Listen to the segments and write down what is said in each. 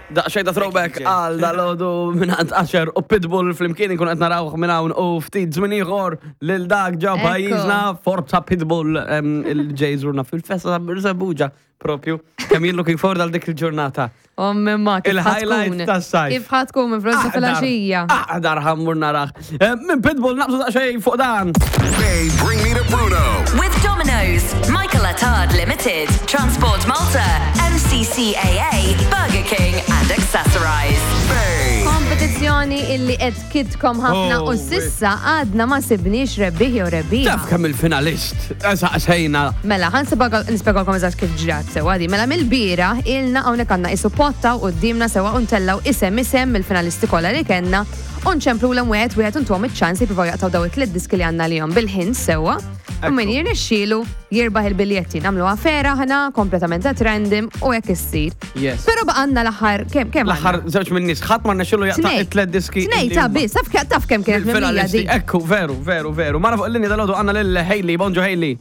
Daqxej ta' throwback għal dal-ħodu minn għand Asher u Pitbull flimkien nkun qed narawh minn hawn u ftit żmien ieħor lil dak ġew Ekku. pajjiżna Forza Pitbull em, il-ġej żurna fil-festa ta' Birżebbuġa propju. Kemm jien looking forward għal dik il-ġurnata. Ommi ma, kif Il-highlight ħatkun? tas-sajf. Kif ħatkun minn frosta fil-għaxija? Aħdar ħammur naraħ. Eh, Minn Pitbull naqbżu daqsxejn fuq dan. They bring me to Bruno. With Domino's, Michael Attard Limited, Transport Malta, MCCAA, Burger King, and Accessorize. Bay. Kompetizzjoni illi qed kidkom ħafna Oh, u sissa għadna ma sibniex rebbieħ jew rebbieħa. Taf kemm il-finalist. Saqsejna. Mela, ħan nispjegalkom eżatt kif ġrat sewa di. Mela mill-bira ilna hawnhekk għandna isu potta u qudiemna sewa u ntellaw isem isem mill-finalisti kollha li kellna u nċemplulhom wieħed wieħed u ntuhom iċ-ċans jippruvaw jaqtgħu daw it-tliet diski li għandna lihom bil-ħin sewwa. U min jirnexxielu jirbaħ il-biljetti. Nagħmluha fera aħna kompletament at random u hekk issir. Yes. Però baqgħanna l-aħħar kemm kemm L-aħħar żewġ minn nies ħadd ma rnexxielu jaqta' Tnej. it-tliet diski. Tnej illi ta' huma. biss, taf ke- taf kemm kienet mimlija Il-finalisti. dik. Ekku, veru, veru, veru. Mara fuq il-linja dal-għodu għanna lil Hailey. Bonġu Hailey.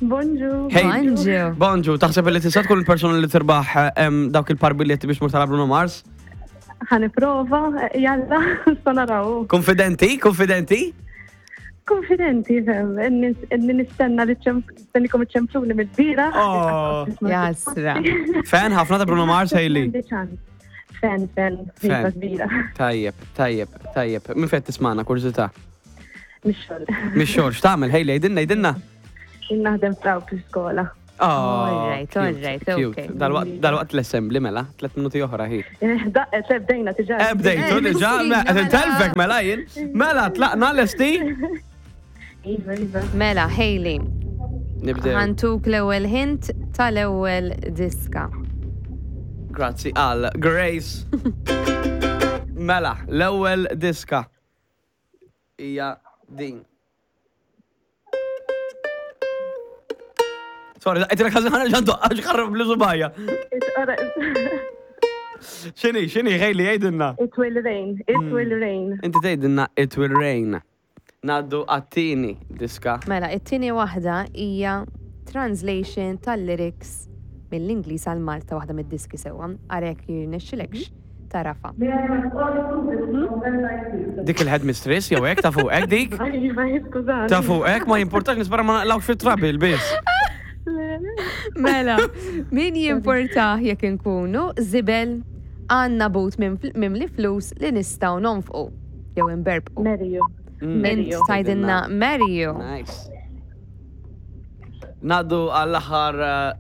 Bonġu. Hailey. Bonġu. Bonġu, taħseb li tista' tkun il-persuna li tirbaħ em, dawk il-par biljetti biex mur tara Bruno Mars? Ħaniprova, jalla, sa naraw. Konfidenti, konfidenti? Konfidenti, fem, inni nistenna li nistennikom iċċempluni mill-bira. Oh. Jasra. Fan ħafna ta' Bruno Mars, Hailey. Fan, fan, Fan. fan. kbira. Tajjeb, tajjeb, tajjeb. Min fejn tismana, kurżità. Mix-xogħol. Mix-xogħol, x'tagħmel, Hailey, għidilna, għidilna. Naħdem fraw fl-iskola. Oh, All right, cute, all right, cute. okay. Dal-waqt dal-waqt l-assembly mela, tlet minuti oħra hi. Eh, Daqqet, eh, bdejna tiġa. Eh, bdejtu Eh, diġà, mela. mela, qed intelfek mela jien. Mela, tlaqna lesti. Iva, iva. Mela, Hailey, Nibdew. ħantuk l-ewwel hint tal-ewwel diska. Grazzi għal Grace. Mela, l-ewwel diska hija din. Sorry, daqqet il ħażin ġandu għax ħarrab li subajja. X'inhi, x'inhi Hailey jgħidilna. It will rain, it Hmm. will rain. Inti tgħidilna it will rain. Naddu għat-tieni diska. Mela, it-tieni waħda hija translation tal-lyrics mill-Ingliż għal Malta waħda mid-diski sewwa. Arek jirnexxilekx tarafa. Dik il-headmistress jew hekk ta' fuqek dik? Iva, skużani. Ta' fuqek ma jimpurtax nispera ma naqlawx fit-trabil biss. Mela, min jimportah jekk inkunu żibel għandna but mimli flus li nistgħu nonfqu jew inberbqu. Marry you. Marry Int you. tajdinna marry you. Nice. Naddu għall-aħħar eh,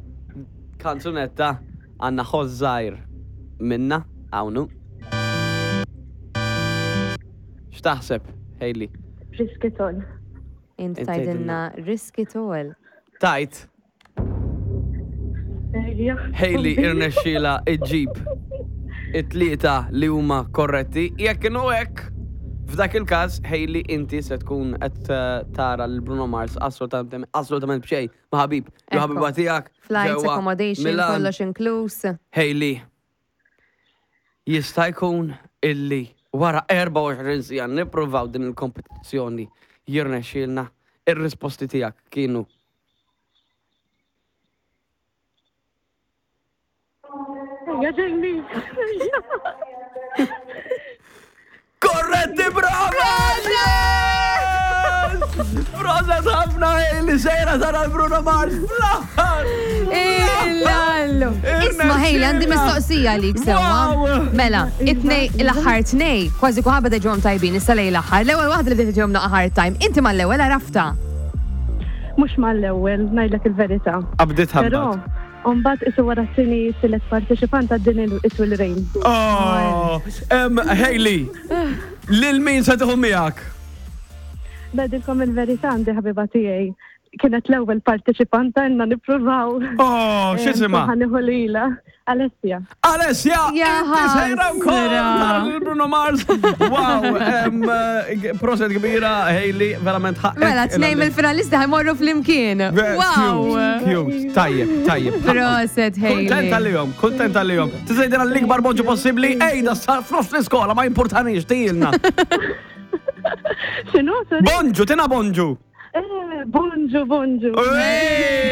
kanzunetta għanna ħoż żgħir minna hawnhu. X'taħseb, Hailey? Risk it all. Int Int tajdinna risk it all. Tajt, Ejja. Hailey irnexxila iġġib it-tlieta li huma korretti. Jekk inhu hekk, f'dak il-każ Hailey inti se tkun qed eh, tara lil Bruno Mars assolutament assolutament b'xejn ma' ħabib. Jew Ekku. ħabiba tiegħek. Flights, ġewwa accommodation, Milan. kollox inkluż. Hailey, jista' jkun illi wara 24 sija nippruvaw din il-kompetizzjoni jirnexxielna ir-risposti tiegħek kienu Ejja, Jamie. Korretti brava! Yes! Proset ħafna Hailey sejra tara l-Bruno Mars fl-aħħar! Illallu. Isma Hailey, għandi mistoqsija għalik sewwa. Wow! Mela, it-tnej, l-aħħar tnej, kważi kuħabba beda ġewhom tajbin, issa lej l-aħħar. L-ewwel waħda li bdiet ġewhom naqa' hard time. Inti mal-ewwel għarafta. Mux mal-ewwel, ngħidlek il-verità. Qabdit Però, ħabbat. mbagħad isu wara t-tieni t-tielet parteċipant għad din il-It will rain. Oh, em, Hailey, lil min se tieħu miegħek? Ngħidilkom il-verità għandi ħabiba tiegħi. Kienet l-ewwel parteċipanta inna nippruvaw. Oh, x'isimha? Ħanieħu lilha. Alessia. Alessia, Ja inti sejra wkoll ħasra. tara lil Bruno Mars. Wow, em, eh, proset kbira, Hailey, verament ħaqek. Mela, tnej mill-finalisti ħajmorru flimkien. Wow! Cute, cute. Tajjeb, tajjeb. Proset, Hailey. Kontent għalihom, kontent għalihom. Tiżejdina l-ikbar bonġu possibbli, ejda sar f'nofs l-iskola, ma importanix, tijilna. X'inhu? Sorry? Bonġu, tina bonġu. Eh, Bonġu, bonġu. Ej!